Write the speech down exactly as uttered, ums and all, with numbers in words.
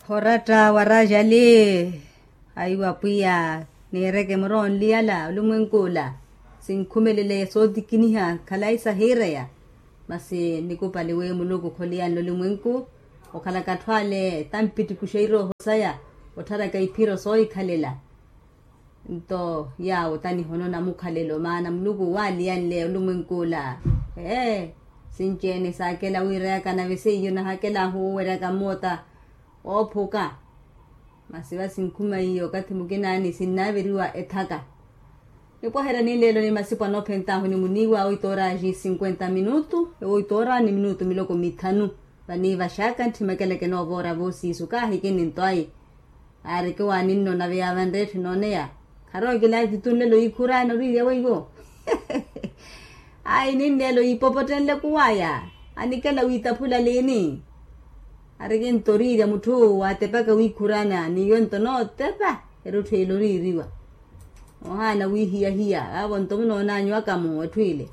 Oratta wa rajali. Aiwa pwiya, niireke muro onliyala olumwenk'ula. Sinkhumelele sootikiniha khalayi sahiireya. Masi nikupali wi muluku kholiyanle olumwenku, okhalaka atthu ale tampitikuxa irooho saya, ottharaka iphiro soohikhalela. Nto yaawo tanihono namukhalelo maana muluku waaliyanle olumwenk'ula. Ee, sinci-ene saakela wiirayaka nave seiyo nahakelahu oweryaka moota oophuka. Masi va sinkhuma iyo okathi mukinaani sinnaaveriwa ethaka. Nipwaherya ninleelo ni masipo anoophentahu ni muniiwa oito oraji cinquenta minutu. Oito ora ni minutu miloko mithanu. Vaniivaxaka ntthimekele kinoova ora voosiisu kaahikini nto ayi. Aareke waaninno nave yaavanre etthu enooneya. Kharowa kilaatitu nlelo yiikhuraana oriirya weiwo. Ayi ninlelo yiipopottenle kuwaya. Anikela wiitaphula liini? Aareke nto oriirya mutthu waatepaka wiikhuraana n'iyo nto nootepa. Erutthu ele oriiriwa. Ohaana wiihiyahiya vaavo nto munoonanyu akamu etthu ile.